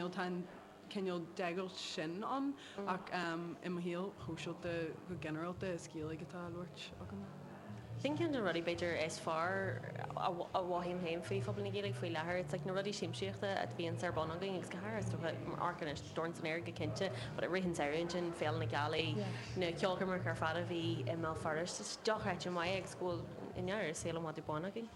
cineál tá an cineál deighilt sin ann ach i mo shaol shóisialta go ginearálta is Gaeilge atá á labhairt agam. Sin ceann de na rudaí b'fhéidir is fearr a mhothaím féin faoi phobal na Gaeilge faoi láthair. It's like na rudaí siamsaíochta a bhíonns ar bun againn agus go háirithe is dócha amharc anois Dorn san Aer go cinnte but i rith an tsamhraidh ansin Féile na Gealaí, na ceolchoirmeacha ar fad a bhí i mBéal Feirste, it's dochreidte maith agus go bhfuil i ndáiríre saol i bhfad ar bun againn.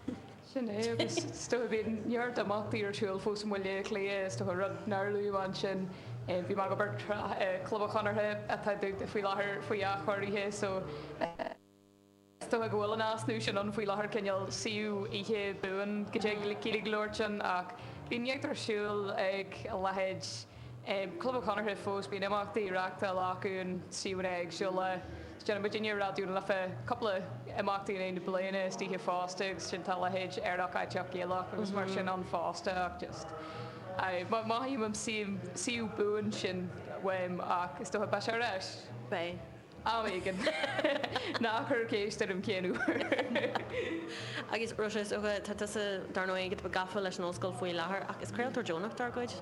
Sin é, agus is dócha bíonn neart imeachtaí ar siúl fós i mBaile Átha Cliath, is dócha rud nár luadh ansin. Bhí mé ag obair Club an Chonartha atá dúnta faoi láthair faoi athchóirithe so is dócha go bhfuil an easnamh sin ann faoi láthair, cineál suíomh oíche buan go dtig Gaeilge a labhairt ann ach bíonn neart ar siúl ag a leithéid Club an Chonartha fós, bíonn imeachtaí á reáchtáil acu in suíomhanna éagsúla. Déanann muidinne i Raidió na Life cúpla imeachtaí in aghaidh na bliana istoíche fosta agus sin tá a leithéid Aerach Aiteach Gaelach agus mar sin ann fosta ach just mothaím an suíomh buan sin uaim ach is dócha beidh sé ar ais. Beidh. Am éigin. Ná cuir ceist orm cén uair. Agus Róise, is dócha, tá tusa dar ndóigh ag gafa leis an ollscoil faoi láthair ach is craoltóir deonach dár gcuid.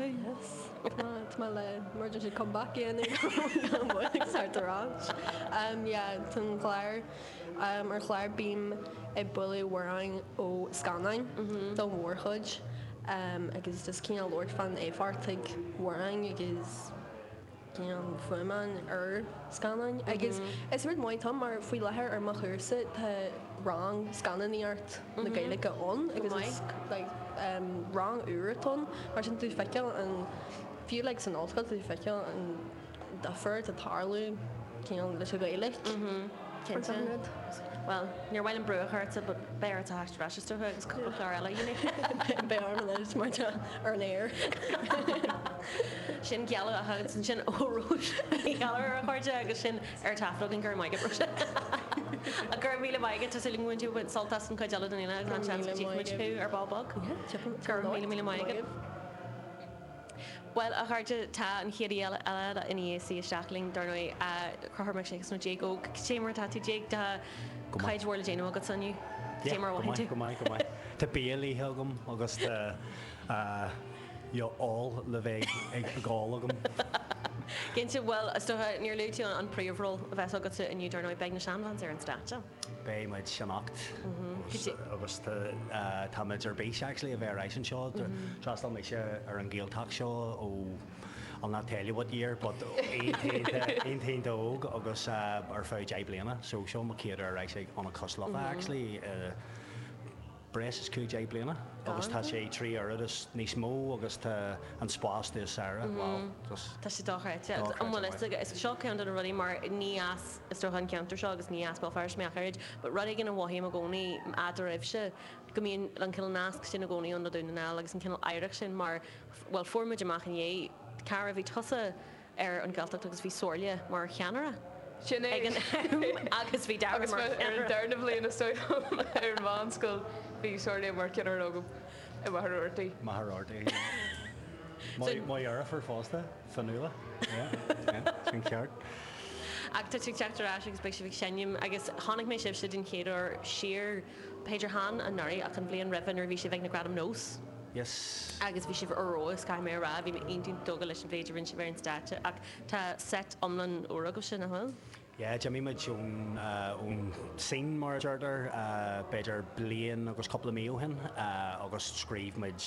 Yes. Tá mé le emergency comeback a dhéanamh gan mhoill agus thart ar ais. Yeah, tá an chlár, ar chlár bím ag bualadh amhráin ó scannáin don mhórchuid agus just cineál labhairt fán éifeacht ag amhráin agus cineál fuaimeanna ar scannáin agus is rud maith atá ann mar faoi láthair ar mo chúrsa tá rang scannánaíocht na Gaeilge ann agus is like rang úr atá ann mar sin tú feiceáil an fiú like san ollscoil tú feiceáil an difear atá tarlú cineál leis an Ghaeilge. Cinnte. Bhuel, níor mhaith liom brú a chur ortsa but beidh ort a theacht ar ais is dócha agus cúpla clár eile a dhéanamh. Beidh orm anois mar tá ar an aer. Sin gealladh a agus ansin ó Róise Ní Ghallchóir a chairde agus sin ar taifead againn go raibh maith agat Róise. Go raibh míle maith agat tá súil agam go mbainfidh tú sult as an chuid eile den fhéile agus an seans go dtchífimid thú ar ball beag. Go raibh míle míle maith agat. Bhuel, a chairde, tá an chéad aoi eile i ndiaidh suí isteach linn, dar ndóigh, Conchúr Mac Séagais nó Jake Óg. Cad é mar atá tú, Jake? Tá cuid mhór le déanamh agatsa inniu. Cad é mar a mhothaíonn tú? Go maith, go maith, go maith. Tá bia le hithe agam agus tá ól le bheith ag ól agam. Cinnte, bhuel, is dócha, níor luaigh tú an príomhról a bheas agatsa inniu, dar ndóigh, beidh na Seanbhans ar an stáitse. Beidh muid anocht agus tá muid ar bís actually a bheith ar ais anseo. D'fhreastail mise ar an Ghaeltacht seo ó I'll not tell you what year but iontach iontach óg agus ar feadh 10 bliana so seo mo chéad uair ar ais ag Ionad Cois Life actually. breis is 15 bliana agus tá sé 3 oiread is níos mó agus tá an spás níos fearr, wow, just. Tá sé dochreidte. Agus an bhfuil fhios agat, is seo ceann de na rudaí mar ní as is dócha an ceantar seo agus ní as Béal Feirste mé ach oiread, but rud éigin a mhothaím i gcónaí eadraibhse, go mbíonn an cineál nasc sin i gcónaí ann le Dún na nGall agus an cineál oidhreacht sin mar, bhuel fuair muid amach inné, cá raibh, bhí tusa ar an Ghaeltacht agus bhí Somhairle mar cheannaire Sin é. ag an am agus bhí Dara Agus mar ar an cheannaire. darna bhliain is dóigh liom ar an mheánscoil bhí Somhairle mar cheannaire agam i Machaire Rabhartaigh. Machaire Rabhartaigh, yeah. Mo mo dheirfiúr fosta, Fionnuala, yeah, yeah, sin ceart. Ach tá tú ag teacht ar ais agus beidh sibh ag seinm agus chonaic mé sibhse den chéad uair siar, b'fhéidir chan anuraidh ach an bhliain roimhe nuair a bhí sibh ag na Gradaim Nós. Yes. Agus bhí sibh ar fheabhas, caithfidh mé a rá, bhí mé iontach tógtha leis an mhéid a rinne sibh ar an stáitse ach tá seit iomlán úr agaibhse, nach bhfuil? Yeah, d'imigh muid ón, ón scene mar a deirtear, b'fhéidir bliain agus cúpla mí ó shin agus scríobh muid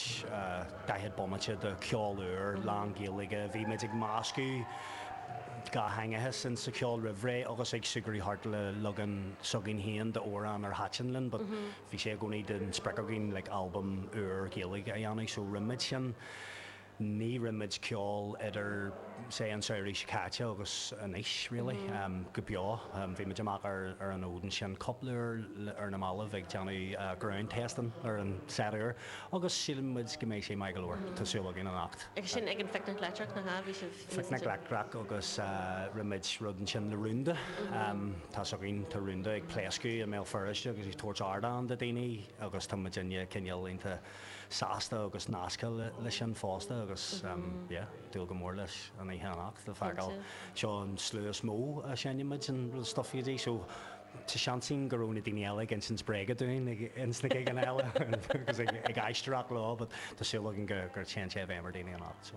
40 bomaite de cheol úr, lán Gaeilge. Bhí muid ag meascadh dhátheangachas in sa cheol roimh ré agus ag súgradh thart le leagan s'againn féin d'amhrán ar thaitin linn but Bhí sé i gcónaí den sprioc againn like albam úr Gaeilge a dhéanamh so rinne muid sin. Ní rinne muid ceol idir say an samhradh seo caite agus anois really go beo. Bhí muid amach ar ar an fhód ansin cúpla uair ar na mallaibh ag déanamh ground testing ar an set úr agus síleann muid go mbeidh sé maith go leor. Tá súil againn anocht. Agus sin ag an Phicnic Leictreach, nach ea? Bhí sibh. Phicnic Leictreach agus rinne muid rud ansin le Rúnda. Tá 's againn, tá Rúnda ag pléascadh i mBéal Feirste agus ag tabhairt ardán do daoine agus tá muidinne cineál iontach sásta agus nasctha le sin fosta agus yeah, dúil go mór leis an oíche anocht le feiceáil. Seo an slua is mó a seinneann muid an stuff go dtí so tá seans ann go raibh na daoine eile ag insint bréaga dúinn ins na gigeanna eile agus ag aisteoireacht leo but tá súil againn gur téann sé i bhfeidhm ar daoine anocht.